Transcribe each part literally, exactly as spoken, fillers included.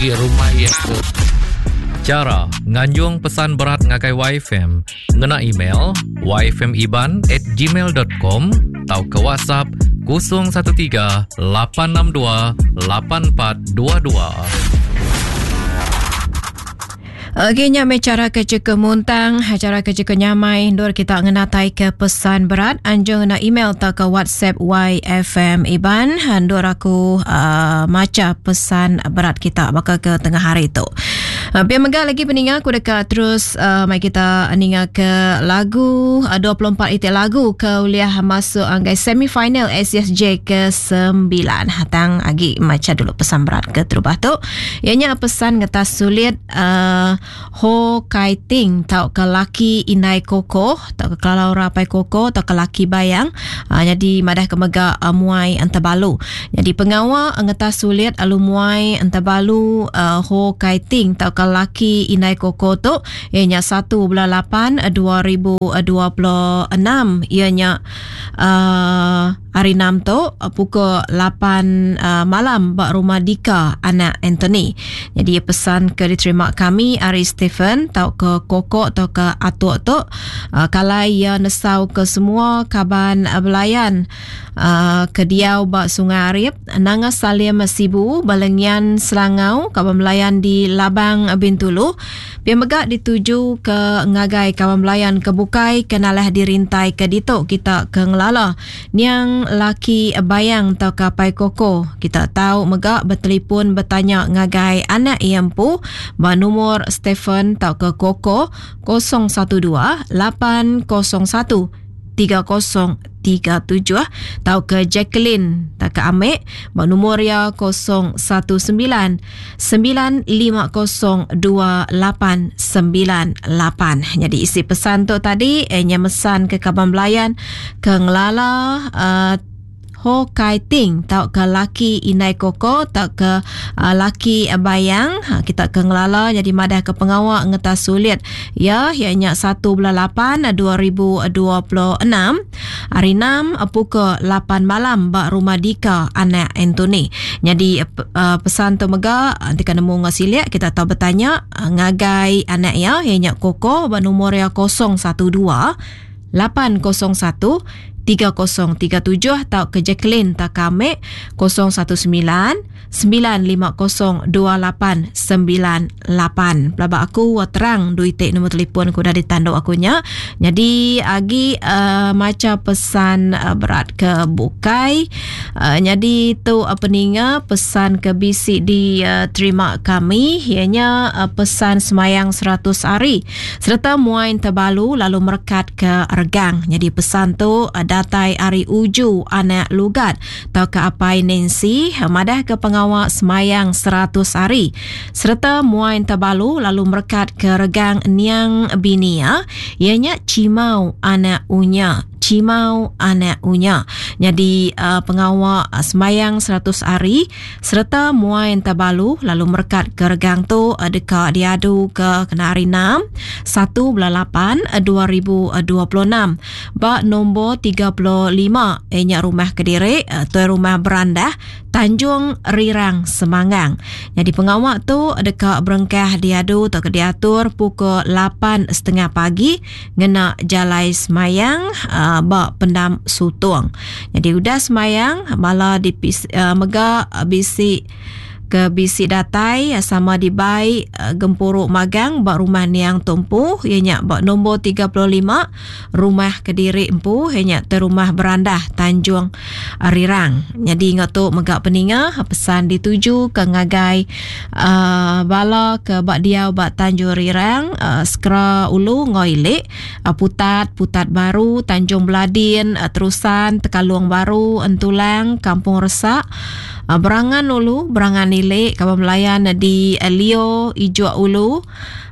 agi rumah iya ke Cara nganjung pesan berat ngagai Y F M ngena email y f m iban at gmail dot com atau ke WhatsApp kosong satu tiga lapan enam dua lapan empat dua dua. Okey, nya me cara ke cukup muntang, cara ke cukup nyamai ndur kita ngenatai ke pesan berat anjung ngena email atau ke WhatsApp Y F M Iban ndur aku uh, maca pesan berat kita bakal ke tengah hari tu. Uh, biar megah lagi peninga aku dekat terus uh, mai kita ninga ke lagu uh, dua puluh empat itik lagu ke uliah masuk anggai semifinal S S J ke sembilan. Hatang agi maca dulu pesan berat ke terubah tu. Ianya pesan ngetas sulit uh, Ho Kai Ting tau ke laki Indai Koko tau ke Kelau Rapai Koko tau ke laki Bayang. Uh, jadi madah ke mega uh, muai antabalu. Jadi pengawa ngetas sulit alu muai antabalu uh, Ho Kai Ting tau ke laki Indai Koko tu ianya satu bulan lapan dua ribu dua puluh enam ianya uh, hari enam tu pukul lapan uh, malam bak rumah Dika anak Anthony. Jadi pesan ke diterima kami hari Stephen tau ke Koko tau ke Atuk tu uh, kalai ia nesau ke semua kaban uh, belayan uh, ke diau bak Sungai Arif Nanga Salim Sibu Balengian Selangau kaban belayan di Labang Bintulu pia mega dituju ke ngagai kaban belayan ke bukai kenalah dirintai ke ditu kita ke ngelala niang laki Bayang tau ke Pai Koko. Kita tahu mega bertelefon bertanya ngagai anak iampu ba nomor Stephen tau ke Koko kosong satu dua lapan kosong satu tiga kosong tiga tujuh tau ke Jacqueline tau ke Amek ba nomor ya kosong satu sembilan sembilan lima kosong dua lapan sembilan lapan. Jadi isi pesan tu tadi eh, nya mesan ke kaban belayan ke ngelala uh, Ho Kai Ting tau ke laki Indai Koko tau ke uh, laki Bayang. Ha, kita ke ngelala jadi madah ke pengawak ngetas sulit ya ianya satu bulan lapan dua ribu dua puluh enam hari enam pukul lapan malam bak rumah Dika anak Anthony. Jadi uh, pesan tu mega nanti kan nemu ngasilik kita tahu bertanya uh, ngagai anak ya ianya Koko bak nombor ya kosong satu dua lapan kosong satu tiga kosong tiga tujuh atau ke Jacqueline Takame kosong satu sembilan sembilan lima kosong dua lapan sembilan lapan. Pelabak aku terang duit nombor telefon aku dah ditanduk akunya. Jadi agi uh, maca pesan uh, berat ke bukai. Uh, jadi tu uh, peninga pesan ke bisi diterima uh, kami ianya uh, pesan semayang seratus hari serta muain terbalu lalu merekat ke regang. Jadi pesan tu uh, datai ari uju anak lugat tau ke apai Nancy madah ke pengawak semayang seratus hari serta muain terbalu lalu merekat ke regang niang binia ianya Cimau anak unya. Cimau anak unya. Jadi uh, pengawak uh, semayang seratus hari serta muain terbalu lalu merekat ke regang tu uh, dekat diadu ke kena hari enam satu bulan lapan dua ribu dua puluh enam bak nombor tiga puluh lima ianya rumah Kediri uh, tuan rumah Berandah Tanjung Rirang Semanggang. Jadi pengawak tu dekat berengkah diadu atau diatur pukul lapan setengah pagi ngena jalai semayang uh, bak pendam Sutung. Jadi udah semayang bala di uh, mega bisi ke bisi datai sama dibai gempuruk magang bak rumah Niang Tumpu ianya bak nombor tiga puluh lima rumah Kediri Empu ianya te rumah Berandah Tanjung Rirang. Jadi ingat tu megak peninga pesan dituju ke ngagai uh, bala ke bak diau bak Tanjung Rirang uh, Skra Ulu Ngoilik uh, Putat Putat Baru Tanjung Beladin uh, Terusan Tekalung Baru Entulang Kampung Resak uh, Berangan Ulu Berangan Ilik kawan melayan di uh, Lio Ijuk Ulu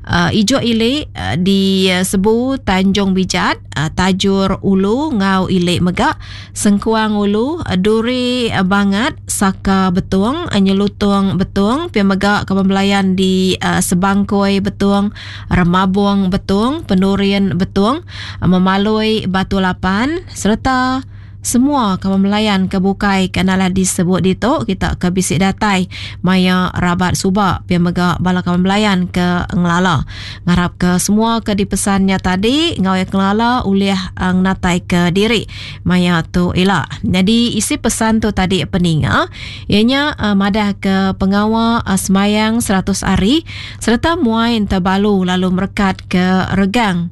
uh, Ijuk Ilik uh, di uh, Sebu Tanjung Bijat uh, Tajur Ulu Ngau Ilik Megak Sengkuang Ulu uh, Duri uh, Bangat Saka Betung uh, Nyelutung Betung Pia Megak kawan melayan di uh, Sebangkoi Betung Remabung Betung Penurian Betung uh, Memalui Batu Lapan serta semua kawan melayan ke bukai ke nalah disebut ditu kita ke bisi datai maya rabat suba pia mega bala kawan melayan ke ngelala. Ngarap ke semua ke dipesannya tadi ngau yang ngelala ulih uh, ngatai ke diri maya tu ila. Jadi isi pesan tu tadi peninga ianya uh, madah ke pengawa uh, semayang seratus hari serta muai terbalu lalu merekat ke regang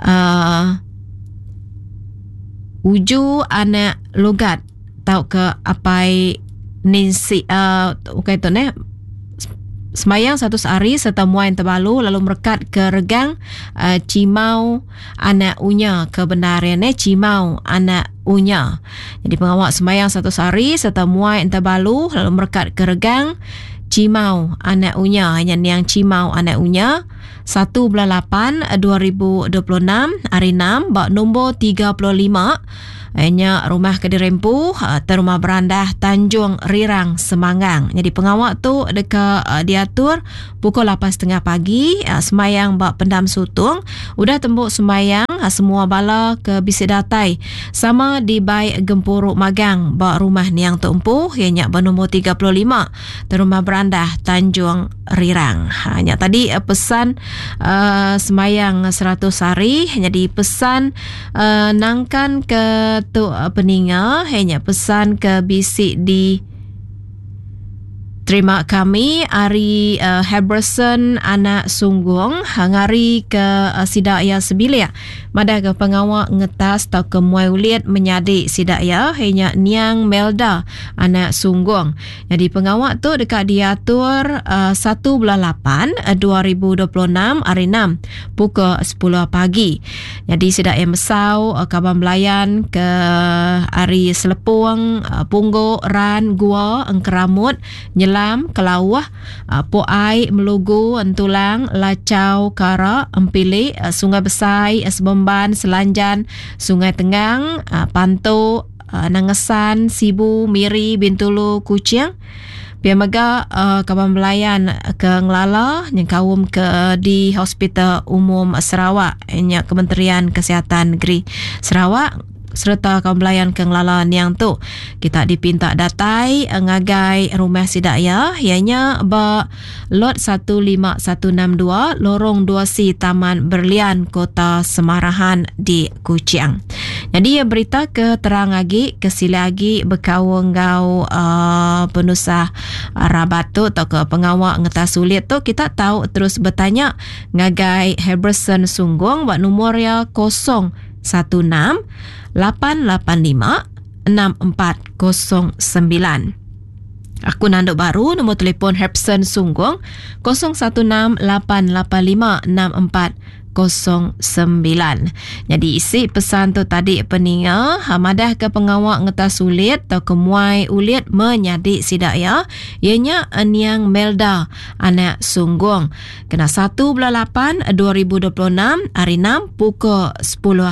uh, uju anak lugat tau ke apai Ninsi uh, okey tu ne semayang seratus hari serta muai terbalu lalu merekat ke regang uh, Cimau anak Unya ke benar ya ne Cimau anak Unya. Jadi pengawak semayang seratus hari serta muai terbalu lalu merekat ke regang Cimau anak Unya hanya niang Cimau anak Unya satu bulan lapan dua ribu dua puluh enam hari enam bak nombor tiga puluh lima nya rumah ke dirempu rumah berandah Tanjung Rirang Semanggang. Jadi pengawak tu deka diatur pukul lapan tiga puluh pagi semayang bak pendam sutung. Udah tembuk semayang semua bala ke bisi datai sama dibai gempuruk magang bak rumah niang tu empu ianya bernombor tiga puluh lima rumah berandah Tanjung Rirang. Ha, nya tadi pesan uh, semayang seratus hari. Jadi pesan uh, nangkan ke tu peninga hanya pesan ke bisi di terima kami ari uh, Heberson anak Sunggung ngari ke uh, sidak ya sebilik madah ke pengawak ngetas atau ke muai ulit menyadik sidak ya hanya niang Melda anak Sunggung. Jadi pengawak tu dekat diatur uh, satu bulan lapan dua ribu dua puluh enam hari enam pukul sepuluh pagi. Jadi sidak ya mesau uh, kaban belayan ke hari Selepung, uh, Pungguk, Ran, Gua, Engkeramut, Nyelam, Kelauh, uh, Poai, Melugu, Entulang, Lacau, Kara, Empilik, uh, Sungai Besai, uh, Sebemban, Selanjan, Sungai Tenggang, uh, Pantu, uh, Nangesan, Sibu, Miri, Bintulu, Kuching. Pia mega uh, kaban belayan ke Ngelala nyengkaum ke di Hospital Umum Sarawak nya Kementerian Kesihatan Negeri Sarawak serta kaum belayan ke Ngelala niang tu kita dipinta datai ngagai rumah sidak ya ianya ba lot satu lima satu enam dua Lorong dua C Taman Berlian Kota Semarahan di Kuching. Jadi ya berita ke terang lagi ke sila lagi berkaul ngau uh, penusah rabat tu atau ke pengawak ngetas sulit tu kita tahu terus bertanya ngagai Heberson Sunggung buat nombor ya kosong satu enam lapan lapan lima enam empat kosong sembilan. Aku nanduk baru nombor telefon Herbson Sunggung kosong satu enam lapan lapan lima enam empat kosong sembilan. Jadi isi pesan tu tadi peninga madah ke pengawak ngetas sulit atau ke muai ulit menyadik sidak ya ianya niang Melda anak Sunggung kena satu bulan lapan dua ribu dua puluh enam hari enam pukul sepuluh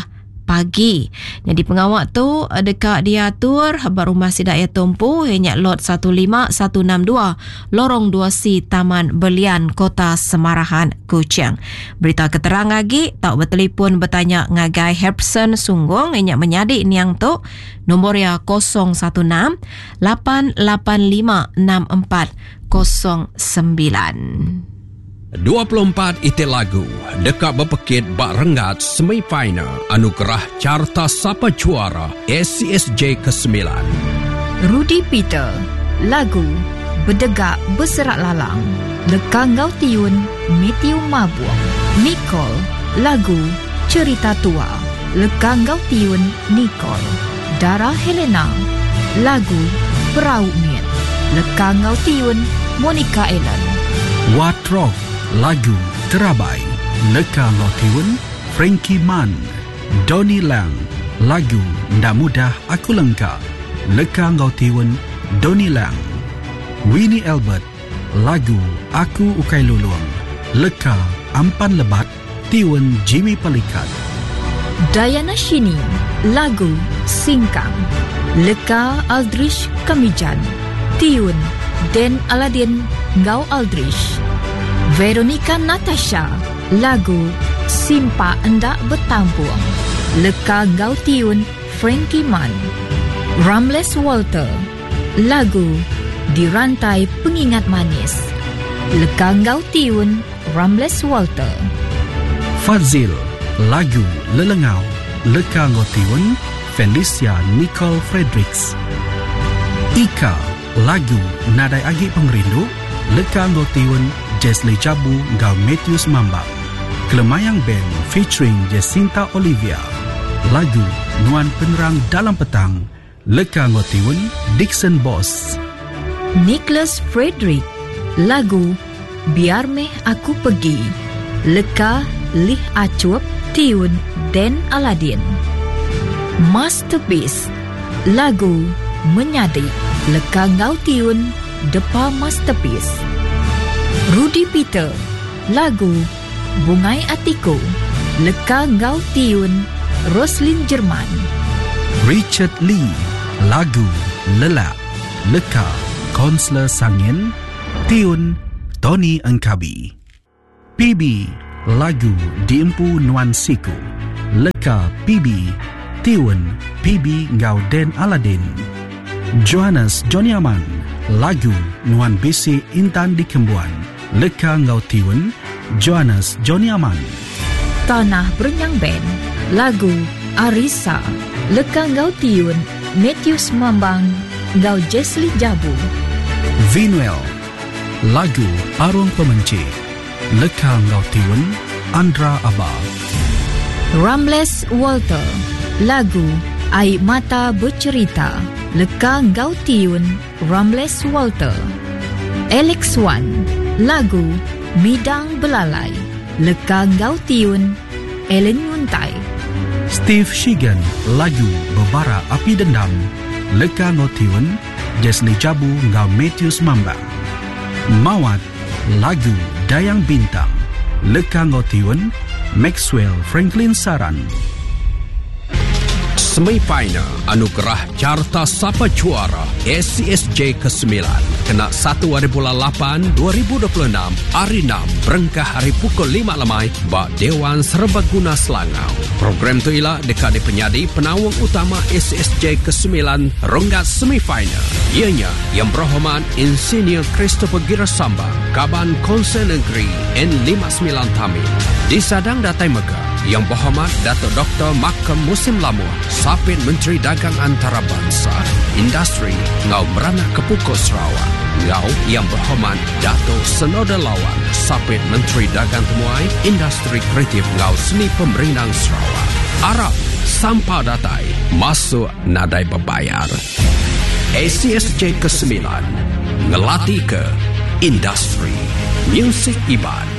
pagi. Jadi pengawak tu dekat diatur habar rumah sidak ya tumpu ianya lot satu lima satu enam dua Lorong dua C Taman Belian Kota Semarahan Kuching. Berita keterang lagi tak bertelefon bertanya ngagai Herbson Sunggung ianya menyadik niang tu nombor ya kosong satu enam lapan lapan lima enam empat kosong sembilan. dua puluh empat iti lagu dekat berpekit bak renggat semifinal anugerah Carta Sapa Juara A C S J kesembilan. Rudy Peter, lagu Bedegak Berserak Lalang, Leka Ngau Tiun, Matthew Mabuang. Nicole, lagu Cerita Tua, Leka Ngau Tiun, Nicole. Dara Helena, lagu Perahu Miet, Leka Ngau Tiun, Monica Ellen. Watrok, lagu Terabai, Leka Ngau Tiun, Frankie Mann. Donny Lang, lagu Ndak Mudah Aku Lengka, Leka Ngau Tiun, Donny Lang. Winnie Albert, lagu Aku Ukai Lulung, Leka Ampan Lebat, Tiun Jimmy Pelikat. Diana Shini, lagu Singkang, Leka Aldrich Kamijan, Tiun Den Aladin Ngau Aldrich. Veronica Natasha, lagu Simpa Endak Bertampung, Leka Ngau Tiun Frankie Man. Ramles Walter, lagu Dirantai Pengingat Manis. Leka enggau tiun Ramles Walter. Fazil, lagu Lelengau. Leka enggau tiun Felicia Nicole Fredericks. Ika, lagu Nadai Agi Pengerindu. Leka enggau tiun Jesly Jabu enggau Matthews Mambang. Kelemayang Band featuring Jacinta Olivia. Lagu Nuan Penerang Dalam Petang. Leka enggau tiun Dixon Boss. Nicholas Frederick, lagu Biar Meh Aku Pergi. Leka Lih Acup, tiun Dan Aladin. Masterpiece, lagu Menyadi. Leka enggau tiun Depa Masterpiece. Rudy Peter, lagu Bungai Atiku. Leka enggau tiun Roslin Jerman. Richard Lee, lagu Lelak. Leka Konselor Sangin, tiun Tony Engkabi. P B, lagu Diempu Nuan Siku. Leka P B, tiun P B enggau Dan Aladin. Johannes Johnny Aman, lagu Nuan Bisi Intan Dikembuan. Leka enggau tiun Johannes Johnny Aman. Tanah Berenyang Band, lagu Arisa. Leka enggau tiun Matthews Mambang enggau Jesly Jabu. Vinuel, lagu Parung Pemenci. Leka enggau tiun Andra Aba. Ramles Walter, lagu Air Mata Bercerita. Leka enggau tiun Ramles Walter. Alex Wan, lagu Midang Belalai. Leka enggau tiun Ellen Nguntai. Steve Shigan, lagu Bebara Api Dendam. Leka enggau tiun Jesly Jabu enggau Matthews Mambang. Mawat, lagu Dayang Bintang. Leka enggau tiun Maxwell Franklin Saran. Semifinal Anugerah Carta Sapa Juara A C S J kesembilan kena satu hari bulan lapan dua ribu dua puluh enam hari enam berengkah hari pukul lima lemai ba Dewan Serbaguna Selangau. Program tu ila dekat di penyadi penawang utama A C S J kesembilan renggat semifinal. Ianya Yang Berhormat Insinyur Christopher Gira Sambang, Kaban Konsel Negeri N lima sembilan Tamil. Disadang datai mega Yang Berhormat Datuk Doktor Makam Musim Lamuh, Sapit Menteri Dagang Antarabangsa, Industri Ngau Meranak Kepukul Sarawak. Ngau Yang Berhormat Datuk Senoda Lawan, Sapit Menteri Dagang Temuai, Industri Kreatif Ngau Seni Pemerinang Sarawak. Arab Sampa Datai, masuk nadai berbayar. A C S J kesembilan, ngelati ke industri, music Iban.